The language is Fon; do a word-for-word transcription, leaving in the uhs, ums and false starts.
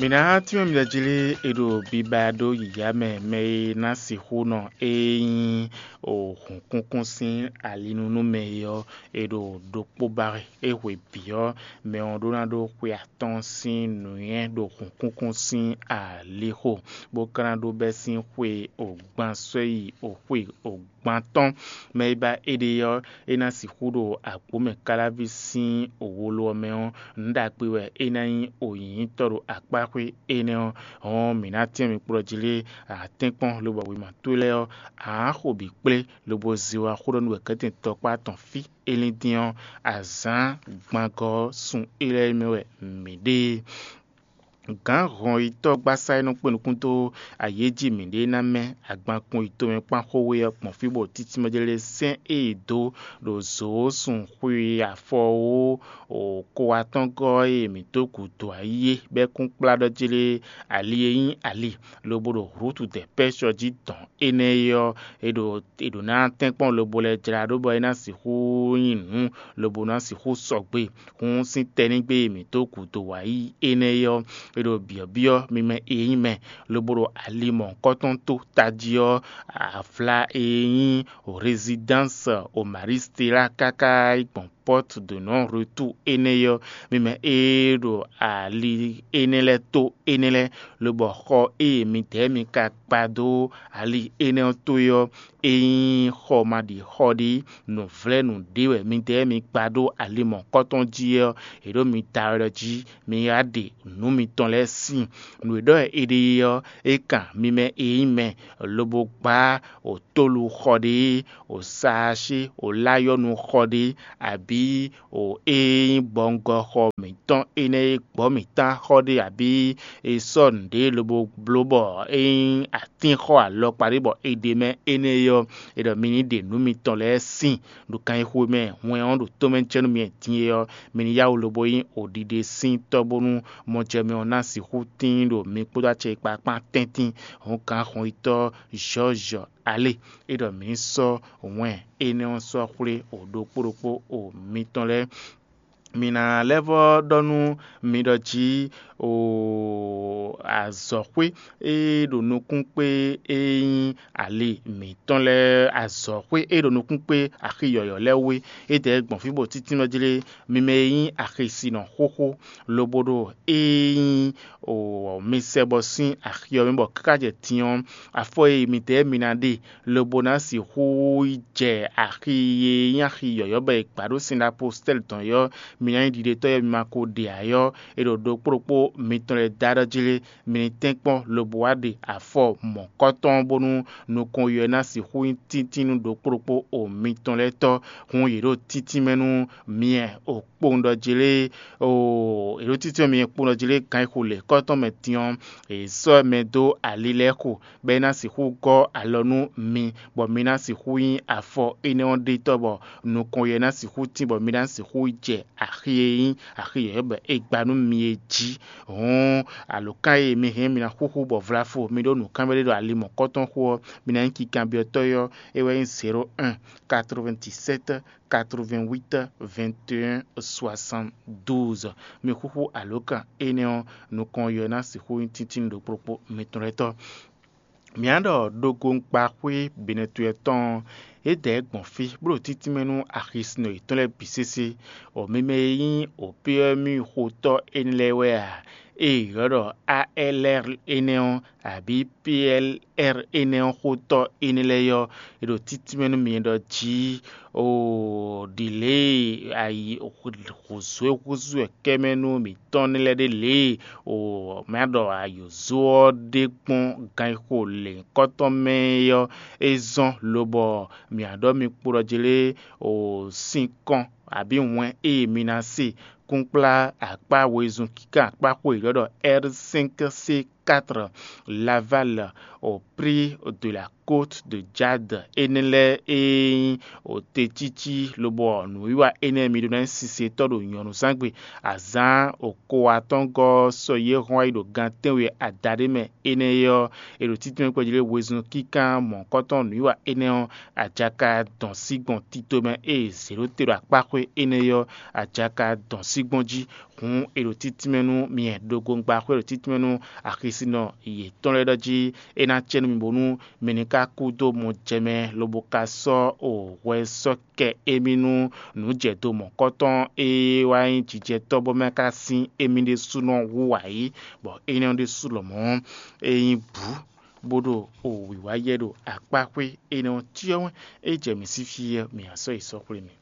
Mǐ ná tínmɛ mi ɖɔ jí lé, è ɖo biba ɖó yǐyá mɛ, mɛ e ná sixú nɔ ée nyí hǔnkúnkún sín alinúnú mɛ é ɔ́, è ɖo ɖokpó ba wɛ. É hwe bǐ ɔ́, mɛ ɔ́ ɖó ná ɖó xwe atɔ́ɔ́n sín nǔnywɛ́ ɖo hǔnkúnkún sín alixo, bó ka ná ɖó bɛ́ sín xwe ogban sɔ́ yi xwe ogban tɔn. Mɛ e ba éɖée ɔ́, é ná sixú ɖo agbǒmɛ káláví sín wolo ɔ́ mɛ ɔ́, nǔ ɖagbe wɛ é ná nyí nyǐnyítɔ́ ɖo akpáxwé énɛ́ ɔ́. Hɔn mǐ ná tɛ́n mi kplɔ́ jí lé, a tɛ́nkpɔ́n lobɔ wěma towe lɛ́ɛ ɔ́, a nǎ xo bǐ kplé, lobo zé wá xó ɖɔ nú wɛ̌kɛ́tɛn tɔkpá tɔn fí. É lín dín ɔ́, azǎn gbangɔ ɔ́ sun é lɛ́ɛ mɛ wɛ mǐ ɖe. Gǎn hɔnyitɔ́ gbásá e nɔ kpé nukún dó ayǐ e jí mǐɖée ná mɛ agbankun yi tomɛ kpán xó we ɔ́ gbɔn fí bɔ títí mɛ jlé sɛ́n e è dó ɖo zǒ sun xwi afɔ wó ko atɔ́ngɔ́ e mǐ dó gǔdo ayí é, bɔ é kún kplá ɖɔ jlé ali e nyí ali, lobo ɖo Hlǔtu dɛ pɛ́ sɔ jí dɔn énɛ́ é ɔ́, è ɖo è ɖǒ ná tɛ́nkpɔ́n lobo lɛ́ jlá ɖó bɔ é ná sixú nyí nǔ, lobo ná sixú sɔgbe. Hǔn sín tɛnígbe e mǐ dó gǔdo wǎ yí énɛ́ é ɔ́, è ɖo byɔ̌byɔ́ mi mɛ e nyí mɛ, lobo ɖo ali mɔ̌hunkɔtɔn tó tají ɔ́, avla e nyí Résidence Omariste lá káká yi gbɔn Porte de Non-Retour énɛ́ é ɔ́, mi mɛ e ɖo ali énɛ́ lɛ́ɛ tó énɛ́ lɛ́ɛ, lobɔ xɔ e midɛɛ mi ka kpa dó ali énɛ́ ɔ́ tó é ɔ́, é nyí xɔ ma ɖi xɔ ɖé, nǔvlɛ́nú ɖé wɛ midɛɛ mi kpa dó ali mɔ̌hunkɔtɔn jí é ɔ́, è ɖǒ mi da wɛ ɖɔ jí mi wá ɖe nǔ mitɔn lɛ́ɛ sin. Nǔ e ɖɔ è ɖe é ɔ́, é kan mi mɛ e nyí mɛ, lobo gbá o tólu xɔ ɖé, o saasé, o láyɔ́nu xɔ ɖé, abǐ o e nyí gbɔngɔxɔ mǐtɔn énɛ́ e gbɔ̌ mǐtán xɔ ɖé, abǐ è sɔ́ nǔɖé lobo bló bɔ é nyí atínxɔ alɔkpa ɖé bɔ è ɖe mɛ énɛ́ é ɔ́, è ɖɔ mi ní ɖe nǔ mitɔn lɛ́ɛ sin ɖo kanxixo e mɛ hwɛn ɔ́ ɖo tomɛ jɛ nú mi din é ɔ́, mi ní yá wǔ lobo nyí oɖiɖe sín tɔ́ bónú mɔjɛmɛ ɔ́ ná sixú tíin ɖo mi kpódó acɛ e kpákpá tɛ́ntin hɔn gǎn hɔnyitɔ́ Jɔ́ɔ́zɔ alé. É ɖɔ mǐ ní sɔ́ wɛn énɛ́ ɔ́ sɔ́ xwlé o ɖokpó ɖokpó o mitɔn lɛ́ɛ. Mi ná lɛ́ vɔ́ ɖɔ nú mi ɖɔ jí o azɔ̌xwé e ɖo nukún kpé e nyí ali mǐtɔn lɛ́ɛ, azɔ̌xwé e ɖo nukún kpé axi yɔ̌yɔ́ lɛ́ɛ wé, é dɛ̌ gbɔn fí bɔ títí nɔ jlé mi mɛ e nyí axisinɔ xóxó, lobo ɖo e nyí o mi sɛ bɔ sín axi ɔ́ mɛ bɔ káká jɛ din ɔ́, afɔ e midɛɛ mi ná ɖe lobo ná sixú yi jɛ axi e nyí axi yɔ̌yɔ́ bɔ è gbǎ ɖó sin ɖo apostɛ́li tɔn yɔ́, mi ná nyí ɖiɖetɔ́ yɔ́ mi ma ko ɖe ǎ yɔ́, è ɖo ɖokpó ɖokpó mitɔn lɛ́ɛ da ɖɔ jí lé, mi ní tɛ́nkpɔ́n lobo wá ɖe afɔ mɔ̌kɔ́tɔn bónú nukɔn yɔ́ ná sixú nyí tíntín nú ɖokpó ɖokpó o mitɔn lɛ́ɛ tɔ́, hun yě ɖo títínmɛ nú myɛ o kpowun ɖɔ jí lé o è ɖo títí mɛ kpó nɔ jí lé kan e xo lě kɔ́tɔn mɛ din ɔ́, è sɔ́ mɛ dó ali lɛ́ɛ xo, bɔ é ná sixú gɔ́ alɔ nú mi, bɔ mi ná sixú nyí afɔ énɛ́ ɔ́ ɖetɔ́, bɔ nukɔn yɛ ná sixú tín, bɔ mi ná sixú jɛ axi e nyí axi yɔ̌yɔ́ bɔ è gba nú mi é jí. Hǔn alǒkan e mi hɛn mi ná xúxú bɔ vlafo mi ɖó nǔkanbyɔ́ ɖé ɖo ali mɔ̌kɔtɔn xo ɔ́, mi ná nyí kinkanbyɔ́tɔ́ ɔ́, é wɛ nyí zéro un, quatre-vingt-dix-sept, quatre-vingt-huit, vingt et un, soixante-douze. Mi xúxú alǒkan énɛ́ ɔ́ nukɔn yɔ ná sixú nyí tíntín ɖokpó ɖokpó mitɔn lɛ́ɛ tɔ́. Mǐ á ɖɔ ɖogonkpaxwé Benɛtwɛ tɔn ɔ́, é dɛ gbɔn fí bó ɖo títínmɛ nú axisínɔ yětɔn lɛ́ɛ bǐ sésé. O mi mɛ e nyí opéɔ́míxotɔ́ énɛ́ lɛ́ɛ wɛ a? Ée è ylɔ́ ɖɔ A L R énɛ́ ɔ́, abǐ P L R énɛ́ ɔ́ xotɔ́ énɛ́ lɛ́ɛ ɔ́, è ɖo títínmɛ nú mi ɖɔ jí o ɖi lě e ayi hǔzú e húzú wɛ kɛ́mɛ nú mǐtɔn nɛ́ lɛ́ɛ ɖe lě e o mǐ á ɖɔ ayǒzó ɔ́ ɖe gbɔn ganxixo lěhunkɔtɔn mɛ é ɔ́, é zɔ́n lobɔ mǐ á ɖɔ mi kpo ɖɔ jí lé o sinkɔn abǐ wɛn e mi ná se kúnkplá akpá wezun kíká akpá xó e ylɔ́ ɖɔ R cinq C quatre Laval au prix de la côte de Jade énɛ́ lɛ́ɛ e nyí o tecící lobɔ nǔwiwa énɛ́ mi ɖó ná nyí sisetɔ́ ɖo nyɔ̌nuzángbe azǎn okowatɔ́ngɔ́ sɔ́ yě hɔn wá yi ɖo gan tɛ́nwe adaɖé mɛ énɛ́ é ɔ́, è ɖo títúnmɛ kpɛjí lé wezun kíkán mɔ̌hunkɔtɔn nǔwiwa énɛ́ ɔ́, ajaka dɔn sí gbɔn tito mɛ ée zě ɖó te ɖo akpáxwé énɛ́ é ɔ́, ajaka dɔn sí gbɔn jí. Hǔn è ɖo títínmɛ nú myɛ ɖo gongbaxwé ɖo títínmɛ nú axisinɔ yětɔn lɛ́ɛ ɖɔ jí é ná cɛ nú mi bónú mi ní ka kú dó mɔ jɛ mɛ lobo ka sɔ́ o hwɛ sɔ́ kɛ émí nú nǔjɛdo mɔ̌kɔtɔn e wá nyí jijɛtɔ́ bɔ mɛ ka sín émí ɖésúnɔ wú ǎ é, bɔ énɛ́ ɔ́ ɖésú lɔmɔ̌ é nyí bǔ bó ɖo o wǐwá yɛ ɖo akpáxwé énɛ́ ɔ́ cyɔ́ wɛn é jɛ mǐ sí fí ɔ́, mǐ á sɔ́ yi sɔ́ xwlé mì.